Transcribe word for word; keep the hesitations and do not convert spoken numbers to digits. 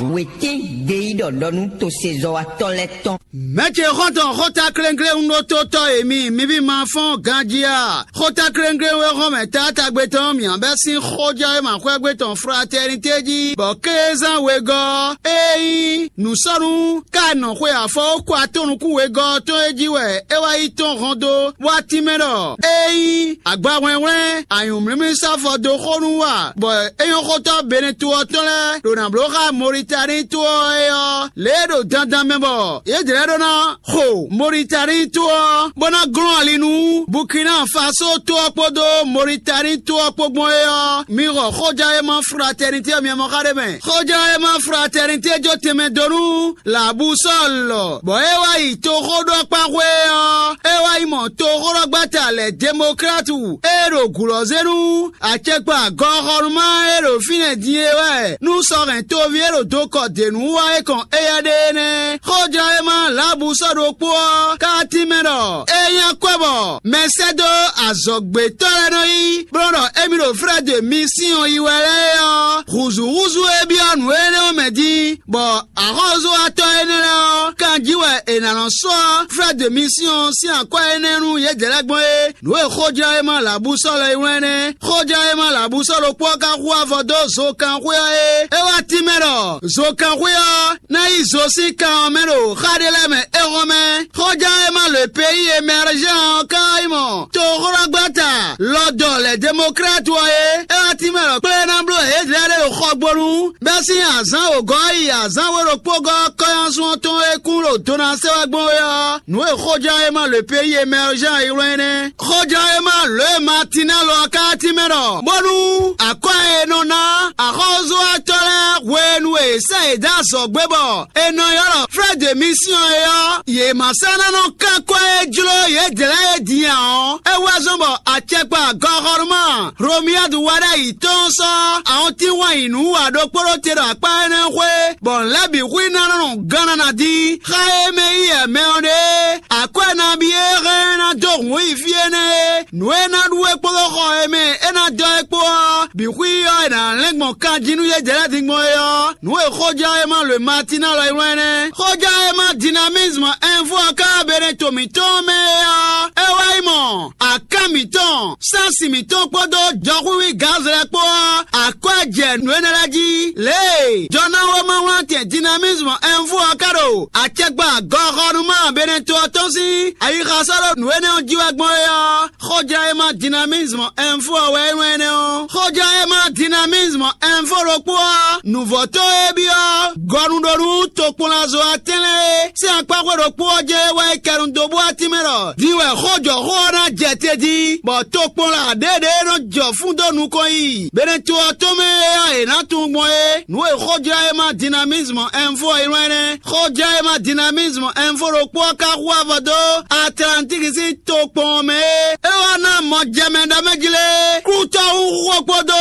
Wětín gbeyíɖɔ ɖɔ nú tosezɔ́watɔ́ lɛ́ɛ tɔn. Mɛ̌ ce xɔ́ntɔn xóta kléŋkléŋ ɖótótɔ́ e mi, mi ví ma fɔ́n ganjí a? Xóta kléŋkléŋ e xɔ́n mɛ taátagbe tɔn mǐ bɛ́ sín xójɛ́wéma xwɛ́gbe tɔn Fratɛnité jí, bɔ kézán wegɔ́ ɔ́, é nyí nǔsɔ́nú ká nɔ xwe afɔ kó atɔ́ nukún wegɔ́ ɔ́ tɔn é jí wɛ é wá yi tɔ́n hɔn dó, bó wá tínmɛ ɖɔ é nyí agbahwlɛ́nhwlɛ́n anyǔmlímlí sɔ́ afɔ dó xó nú wa, bɔ é nyɔ́ xótɔ́ Beneto ɔ́ tɔn lɛ́ɛ ɖo nǎ bló xá Mɔritani to ɔ́ é ɔ́, lě e ɖo dandan mɛ bɔ yě jlɛ́ ɖó ná xo Mɔritani to ɔ́, bó ná glɔ́n ali nú Bukina Faso to ɔ́ kpódó Mɔritani to ɔ́ kpó gbɔn é ɔ́, mi xɔ xójɛ́wéma Fratɛnité ɔ́ mi mɔ xá ɖé mɛ. Xójɛ́wéma Fratɛnité jó tɛnmɛ dó nú Labusɔ́ɔl, bɔ é wá yi toxóɖɔkpáxwé ɔ́, é wá yi mɔ toxóɖɔgbáta lɛ̌ Demoklátu e ɖo gǔlɔ́zénu acɛkpa gɔxɔnúmá e ɖo fínɛ́ din é wɛ nú sɔ́ hɛn toví e ɖo dokɔ dě nú wá é kɔn éyɛ́ ɖe é nɛ́. Xójlɔ́yéma Labusɔ́ɔ ɖokpó ɔ́ ka tínmɛ ɖɔ é nyí akwɛ́ bɔ mɛsɛ́dó azɔ̌gbětɔ́ lɛ́ɛ nɔ yí, bó nɔ́ ɖɔ émí ɖo Frɛ́ de Misíɔn yi wɛ lɛ́ɛ é ɔ́, hǔzúhúzú e byɔ́ nǔ énɛ́ ɔ́ mɛ din, bɔ axɔ́súwatɔ́ énɛ́ lɛ́ɛ ɔ́, kanjí wɛ è nǎ nɔ sɔ́ Frɛ́ de Misíɔn sín akwɛ́ énɛ́ nú yědɛɛ lɛ́ɛ gbɔn é. Nǔ e xójlɔ́yéma Labusɔ́ɔ lɛ́ɛ yi wlán nɛ́. Xójlɔ́yéma Labusɔ́ɔ ɖokpó ɔ́ ka hu avɔ dó zokan xwé ɔ́ é. É wá tínmɛ ɖɔ zokan xwé ɔ́ ná yi zo sín kan ɔ́ mɛ ɖo xá ɖé lɛ́ɛ mɛ é hɔn mɛ. Xójlɔ́yéma le pays émergent ɔ́ ka yi mɔ toxlɔ́gbata lɔdɔ lɛ démocrate ɔ́ é. É wá tínmɛ ɖɔ kplé ná bló yědɛɛ lɛ́ɛ ɖo xɔgbónu bɛ́ sín azǎn wǒgɔ́ yi azǎn we ɖokpó gɔ́ kɔ́nyásun ɔ́ tɔn e kún ɖo do ná sɛ́ wá gbɔn é ɔ́, nǔ e xójlɔ́yéma le pays émergent yi wlán é nɛ́. Xójlɔ́yéma lě e Matinɛ́lu ɔ́ ka tínmɛ ɖɔ bónú akwɛ́ e nɔ ná axɔ́súwatɔ́ lɛ́ɛ hwenu e è sɛ́ yě dó azɔ̌ gbé bɔ è nɔ ylɔ́ ɖɔ Frɛ́ de Misíɔn é ɔ́, yě ma sɔ́ ná nɔ kán kwɛ́ e jló yědɛɛ lɛ́ɛ é din ǎ ɔ́, é wá zɔ́n bɔ acɛkpa gɔxɔnúmá Romiyadu wá ɖ'ayǐ tɔn sɔ́ ahɔntínwáyi nǔ wa ɖokpó ɖó te ɖo akpá énɛ́ xwé, bɔ nǔ lɛ́ɛ bǐ hu i ná nɔ gán ná ná dín. Xá e mɛ yí ɛmɛ ɔ́ ɖe, akwɛ́ nabí e hɛn ná dó hǔn yi fí énɛ́ é, nǔ e ná ɖu é kpódó xɔ e mɛ é ná dɔ́ é kpó ɔ́, bǐ hu i ɔ́ è nǎ lɛ́n gbɔn kan jí nú yědɛɛ lɛ́ɛ din gbɔn é ɔ́, nǔ e xójlɔ́yéma lwe Matinɛ́lu yi wlán nɛ́. Xójlɔ́yéma Dynamisme Info ɔ́ ka Beneto mǐtɔn mɛ é ɔ́, é wá yi mɔ akán mǐtɔn, sánsi mǐtɔn kpódó jɔxwíxwí gǎnzlɛ kpó ɔ́, akwɛ́ jɛ nǔ énɛ́ lɛ́ɛ jí. Lě e jɔnáwéma wlán tɛn Dynamisme Info ɔ́ ka ɖo acɛkpa gɔxɔnúma Beneto ɔ́ tɔn sín ayixa sɔ́ ɖo nǔ énɛ́ ɔ́ jí wɛ gbɔn é ɔ́, xójlɔ́yéma Dynamisme Info ɔ́ wɛ é nɔ énɛ́ ɔ́. Xójlɔ́yéma Dynamisme Info ɖokpó ɔ́, nǔvɔ́tɔ́ e byɔ́ gɔnuɖonu tokpɔnlazo atɛ́nlɛ́ é sín akpáxwé ɖokpó ɔ́ jɛ́n é wá yi kɛnu dó bó wá tínmɛ ɖɔ din wɛ xójɔxó ɔ́ ná jɛ te jí, bɔ tokpɔnla ɖěɖě e nɔ jɔ fún dó nukɔn yi Beneto ɔ́ tɔn mɛ é ɔ́, è nǎ tunwun gbɔn é. Nǔ e xójlɔ́yéma Dynamisme Info yi wlán nɛ́. Xójlɔ́yéma Dynamisme Info ɖokpó ɔ́ ka hu avɔ dó Atlantiki sín tokpɔn ɔ́ mɛ é. É wá ná mɔ jɛ mɛ ɖɔ mɛ jí lé, klútɔ́ hu xó kpódó